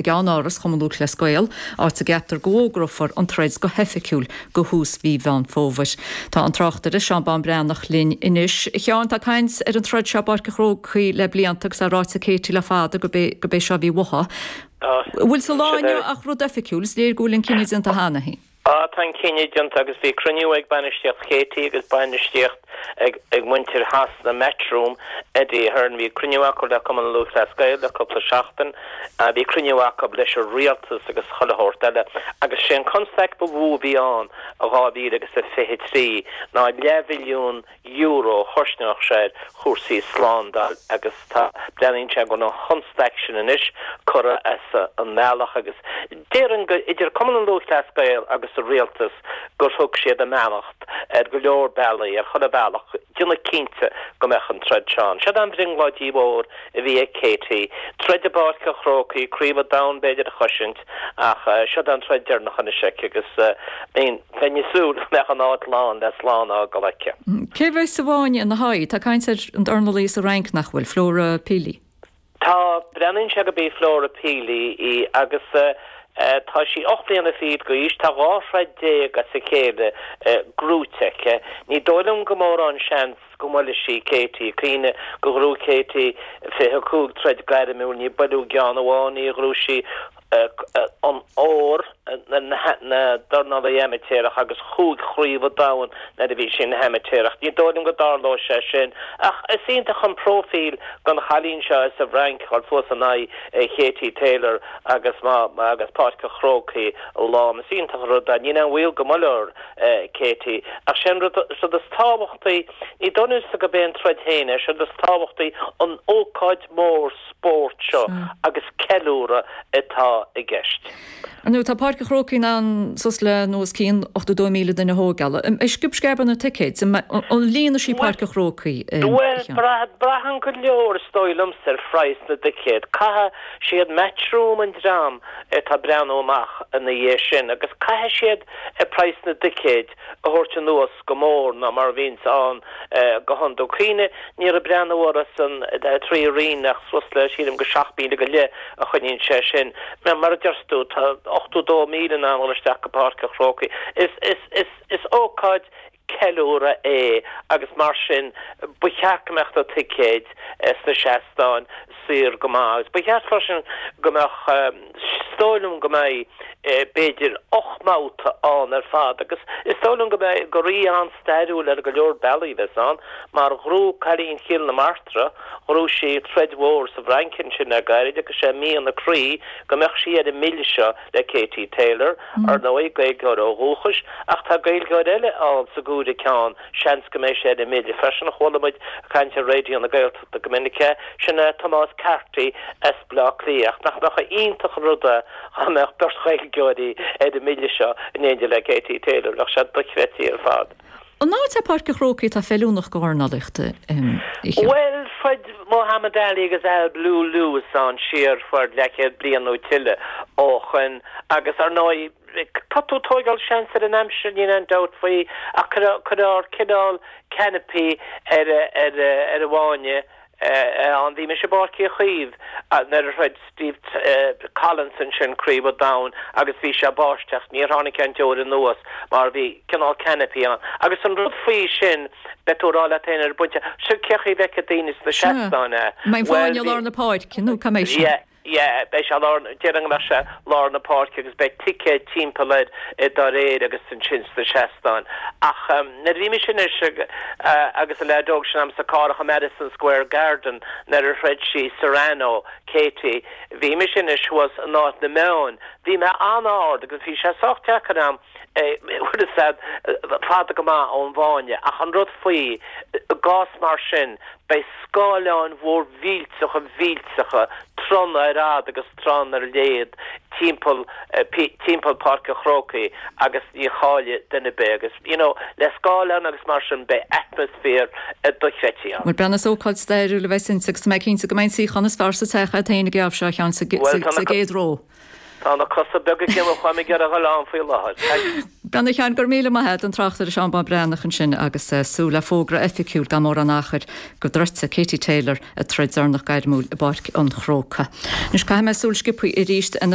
i gceannáras Chumann Lúthchleas Gael, áit a gceaptar go bhfógrófar an troid go hoifigiúil go thús mhí Mheán Fómhair. Tá an tráchtaire Seán Bán Breathnach linn anois. A Sheáin, tá caint ar an troid seo i bPáirc an Chrócaigh le blianta agus é ráite ag Katie le fada gurb é gurb é seo a bhí uaithi. An bhfuil sa lá inniu ach rud oifigiúil? Is léir go bhfuil an cinneadh déanta cheana féin. Á, tá an cinneadh déanta agus bhí cruinniú ag bainistíocht Katie agus bainistíocht ag ag muintir Shasana Matchroom, Eddie Hearn. Bhí cruinniú acu le Cumann Lúthchleas Gael le cúpla seachtain. Bhí cruinniú acu leis an rialtas agus chuile shórt eile. Agus sé an constaic ba mhó a bhí ann i 2023 ná leathmhilliún euro a chosnódh sé ar chúrsaí slándáil agus tá, breathnaíonn sé go bhfuil an chonstaic sin anois curtha as an mbealach agus déarfainn go, idir Cumann an Lúthchleas Gael agus an rialtas gur thug siad a mbeannacht ar go leor bealaí, ar chuile bhealach, déanamh cinnte go mbeadh an troid seo ann. Siod an bhrionglóid mhór a bhí ag Katie, troid i bPáirc an Chrócaigh, Craobh an Domhain b'fhéidir a chosaint ach siod an troid deireanach anois aici agus bheinn ag súil go mbeadh an áit lán le slán a fhágáil aici. Cé a bheas sa bhfáinne ina haghaidh? Tá caint ar an dornálaí as an Fhrainc nach bhfuil, Flora Pili. Tá, breathnaíonn sé gurb í Flora Pili í agus tá sí 8 mbliana fichead d'aois, tá 12 throid as a chéile gnóite aici. Ní dóigh liom go mórán seans go mbuailfidh sí Katie. Cuimhnigh gur ghnóthaigh Katie 25 troid gairmiúil, níor buaileadh i gceann amháin í, ghnóthaigh sí an ór na dornálaí amaitéarach agus chúig chraobh an domhain nuair a bhí sí ina hamaitéarach. Ní dóigh liom go dtarlóidh sé sin ach is iontach an próifíl don chailín seo as an bhFrainc a dhul suas in aghaidh Katie Taylor agus má agus Páirc an Chrócaigh lán. Is iontach an rud é. Níl aon bhaol go mbuailfear Katie ach sé an rud is tábhachtaí, ní dóigh liomsa gurb é an troid féin é, sé an rud is tábhachtaí an ócáid mhór spóirt seo agus ceiliúradh atá i gceist. Ar ndóigh, tá Páirc an Chrócaigh in ann suas le nó os cionn 82,000 duine a thógáil. An mbeidh sciob sceab ar na ticéid? An líonfaidh sí Páirc an Chrócaigh? Bhuel, braitheann go leor, is dóigh liomsa, ar phraghas na dticéad. Caithfidh siad Matchroom an dream atá ag breathnú amach ina dhiaidh sin agus caithfidh siad praghas na dticéid a thabhairt anuas go mór ná mar a bhíonns ann go hiondúil. Cuimhnigh, ní raibh breathnú orthu san trí roinn ach suas le, sílim, go 7,000 go leith a choinníonn sé sin. Mar a deir tú, tá 82,000 in ann dul isteach go Páirc an Chrócaigh. Is, is, is, is ócáid ceiliúradh é agus mar sin ba cheart go mbeadh na ticéid sna seastáin saor go maith agus ba cheart freisin go mbeadh, is dóigh liom go mbeidh b'fhéidir 8 mbabhta ann ar fad agus is dóigh liom go mbeidh, gur oíche an-stairiúil ar go leor bealaí a bheas ann mar ghnóthaigh cailín Chill na Martra, ghnóthaigh sí troid mhór sa bhFrainc ansin le gairid agus sé mian a croí go mbeadh sí ar an mbille seo le Katie Taylor, ar ndóigh, Gaeilgeoir ó dhúchas, ach tá Gaeilgeoir eile ann sa gcúigear ceann, seans go mbeidh sé ar an mbille freisin, chuala muid ag caint ar Raidió na Gaeltachta. Go minic é, sin é Tomás Carty as Baile Átha Cliath. Ach nach mbeadh iontach an rud é dá mbeadh beirt Ghaeilgeoirí ar an mbille seo in éindí le Katie Taylor. Bheadh sé dochreidte ar fad. An áit é Páirc an Chrócaigh atá feiliúnach do dhornálaíocht, a Sheáin? Bhuel, throid Muhammad Ali agus Al Blue Lewis ann siar fuair leathchéad bliain nó tuilleadh ó shoin agus ar ndóigh tá tú ag tóigeáil seans ar an aimsir, níl aon dabht faoi, ach cuirfear cineál canopy ar ar an bhfáinne ann. Bhí mise i bPáirc Uí Chaoimh nuair a throid Steve Collins ansin Craobh an Domhain agus bhí sé ag báisteach, níor tháinig aon deoir anuas mar bhí cineál canopy ann. Agus an rud faoi sin, beidh tú ag rá leat féin ar an bpointe, seo cén chaoi a bhfeicfidh daoine sna seastáin é? An mbeidh an fáinne i lár na páirce nó cá mbeidh sé? Yeah, beidh sé lár, déarfainn go mbeadh sé lár na páirce agus beidh ticéid timpeall air dá réir agus ansin sna seastáin. Ach nuair a bhí mise anois agus an leaid óg sin a'm sa carr i Madison Square Garden nuair a throid sí Serrano, Katie, bhí mise anois thuas in áit na meáin, bhí mé an-ard agus bhí sé sách deacair a'm bhfuil fhios a'd, fada go maith ón bhfáinne. Ach an rud faoi, i gcás mar sin, beidh scáileáin mhór mhillteacha mhillteacha, tráthanna ar fhad agus tráthanna ar léad timpeall, timpeall Páirc an Chrócaigh agus ní chaillfidh duine ar bith agus, you know, le scáileáin agus mar sin beidh atmaisféar dochreidte ann. Bhuel, breathnaigh, is ócáid stairiúil a bheas inti agus tá mé cinnte go mbeidh an suíochán is fearr sa teach agat féin ag an geábh seo, a Sheáin, sa gcéad ró. Tá na cosa beaga ag imeacht uaim ag iarraidh a dhul ann faoi láthair. Breathnaigh, a Sheáin, go raibh míle maith agat, an tráchtaire Seán Bán Breathnach ansin agus súil le fógra oifigiúil gan mórán achair go dtroidfidh Katie Taylor a troid deireanach gairmiúil i bPáirc an Chrócaigh. Anois caithfidh mé súil sciobtha arís ar na.